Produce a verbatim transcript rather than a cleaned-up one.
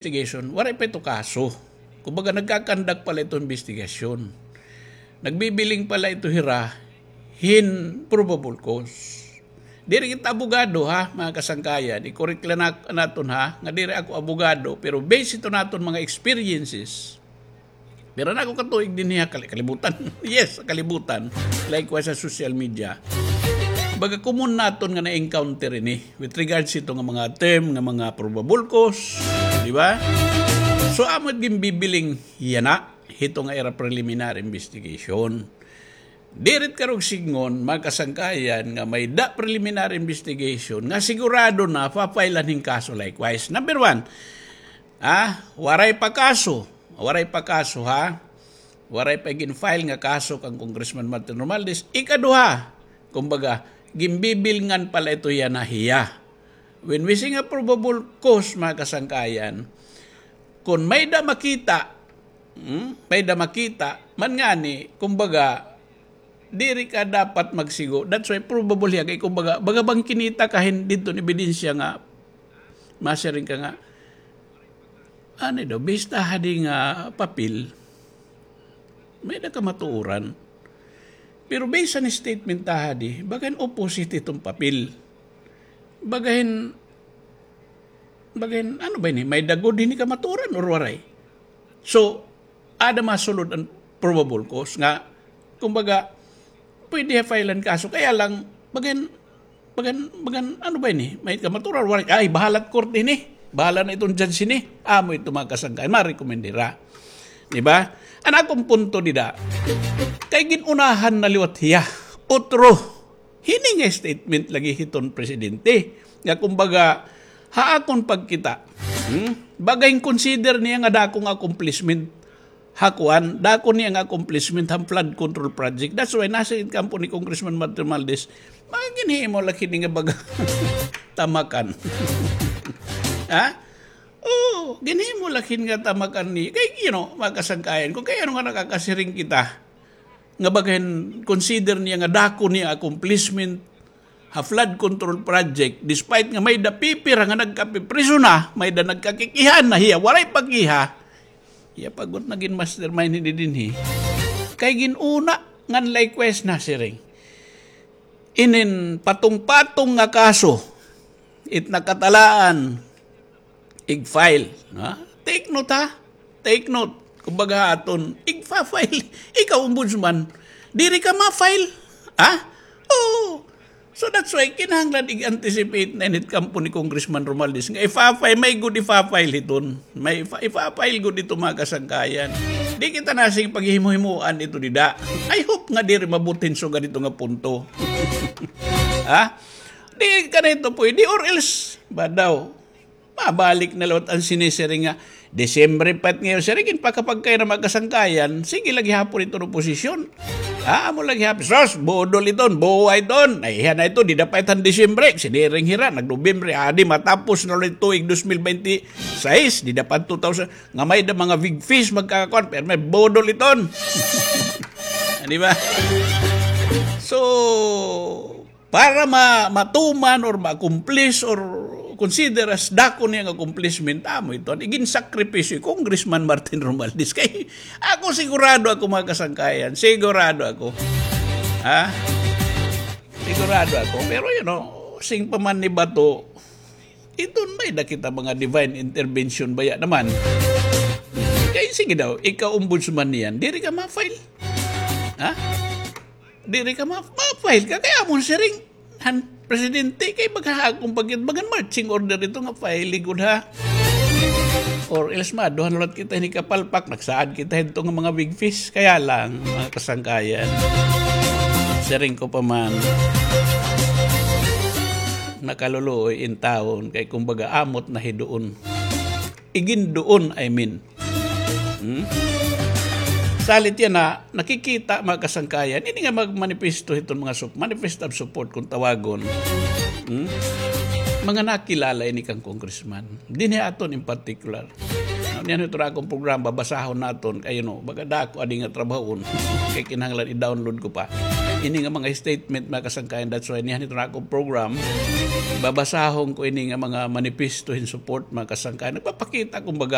investigation, waray pa ito kaso. Kumbaga, nagkakandak pa la ito investigasyon. Nagbibiling pa la ito hira hin probable cause. Diri kita abogado, ha, mga kasangkayan. I-correct la na, naton, ha, nga diri ako abogado, pero based ito naton mga experiences. Pero na ako katuig dinhi ha kali-, kalibutan. Yes, kalibutan. Likewise sa social media. Baga common naton nga na-encounter ini with regards ito nga mga term, nga mga probable cause, di ba? So, amo it ginbibiling yana, hito nga ira preliminary investigation. Diri it karuyag sidngon, mga kasangkayan, nga may-ada preliminary investigation, nga sigurado na, pa-file-an hin kaso likewise. Number one, ah, waray pa kaso. Waray pa kaso, ha? Waray pa gin-file nga kaso kan Congressman Martin Romualdez. Ikaduha, kumbaga, ginbibilngan pa la ito yana hiya. When we say nga probable cause, mga kasangkayan, kon may-ada makita, hmm, may-ada makita, man ngani, kumbaga, diri ka dapat magsigo. That's why probable hiya kay kumbaga, baga bang kinita ka hin didto hin ebidensya nga, masiring ka nga, ano daw, based ha di nga papel, may-ada kamatuoran. Pero based ha statement ha di, baga hin opposite iton papel. Baga hin, baga hin, ano ba ini? May-ada gud hini kamatuoran or waray? So, aada masulod an probable cause nga, kumbaga, pwede ha-file-an kaso. Kaya lang, baga hin, baga hin, baga hin, ano ba ini? May-ada kamatuoran, waray. Ay, bahala it korte hini. Bahala na iton judge hini. Amo ito mga kasangkayan. Ma-recommend hira. Di ba? An akon punto dida, kay gin-unahan na liwat hiya. Otro. Hini nga statement lagi hiton presidente. Nga kumbaga, ha akon pagkita, hmm? Baga hin-consider niya nga dako nga accomplishment ha kuan, dako niya nga accomplishment han flood control project. That's why nasiring it kampo ni Congressman Martin Romualdez, mga ginhimo la hini nga baga tamakan. Ha? Oo, ginhimo la hini nga tamakan ni, kay, you know, mga kasangkayan, kon kay ano nga nakakasiring kita, nga baga hin-consider niya nga dako niya accomplishment ha flood control project, despite nga may-ada pipira nga nagkapipriso na, may-ada nagkakikiha na, hiya waray pa kiha, hiya pa gud nagin mastermind hini dinhi. Kay gin-una ngan likewise nasiring. Inin patong-patong nga kaso, it nakatalaan, ig-file, ha? Take note, ha? Take note. Kumbaga aton, igfa-file. Ikaw, Ombudsman, diri ka ma-file. Ha? Oo. So that's why, kinahanglan ig-anticipate na ini it kampo ni Congressman Romualdez. Nga ifa-file, may gud ifa-file hiton. May ifa-, ifa-file gud ito, mga kasangkayan. Di kita na sige paghihimo-himoan ito dida. I hope nga diri maabot hin sugad ito nga punto. Ha? Di ka na ito pwede, or else, ba daw, mabalik na liwat an sinisiring nga, Disyembre pa it ngayon, siring, ginpakapagkay na mga kasangkayan, sige la gihapon iton oposisyon. Ah, amo la gihapon, sus, budol iton, buwa iton. Ay, hiya na ito, dida pa it han Disyembre, siniring hira, nag-Nobyembre, adi, matapos na liwat it tuig dos mil bente sais, dida pa it two thousand, nga may-ada mga big fish, magkakakuan, pero may budol iton. Di ba? So, para ma-, matuman or ma-accomplish or consider as dako niya nga accomplishment, amo ito an iginsakripisyo ni Congressman Martin Romualdez. Kay ako, sigurado ako, mga kasangkayan, sigurado ako. Ha? Sigurado ako. Pero, you know, siring pa man ni Bato, iton may-ada kita mga divine intervention baya naman. Kay sige daw, ikaw, Ombudsman, niyan, diri ka ma-file. Ha? Diri ka ma-, ma-file ka. Kay amon siring han presidente, kay baga ha akon pagkit-, bagan marching order ito nga file gud, ha. Or else, maduha na liwat kita hini kapalpak, nagsaad kita hito nga mga big fish. Kaya lang, mga kasangkayan, siring ko pa man, nakaluluoy in taon, kay kumbaga amot na hidoon. Igindoon, I mean. Hmm? Salit yana, nakikita, mga kasangkayan, ini nga magmanifesto hiton mga sup-, manifesto of support kon tawagon. Hmm? Mga nakilala ini kan congressman. Dinhi aton in particular. Niyan hito nga akon programa, basahon naton, kay, you know, baga dako adi nga trabahoon. Kay kinahanglan i-download ko pa. ini nga mga statement, mga kasangkayan. That's why niyan ito na akong program, babasahon ko ini nga mga manifesto hin support, mga kasangkayan. Nagpapakita, kumbaga,